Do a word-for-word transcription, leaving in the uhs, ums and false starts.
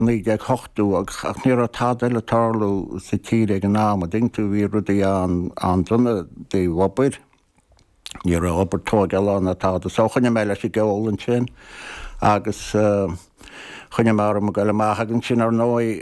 naoi déag ochtó ach ní raibh tada eile ag tarlú sa tír ag an am, an dtuigeann tú, bhí rudaí an-dona i dtaobh obair, ní raibh obair tógála ná tada so choinnigh mé leis an gceol ansin agus choinnigh mé orm ag goil amach agus ansin ar ndóigh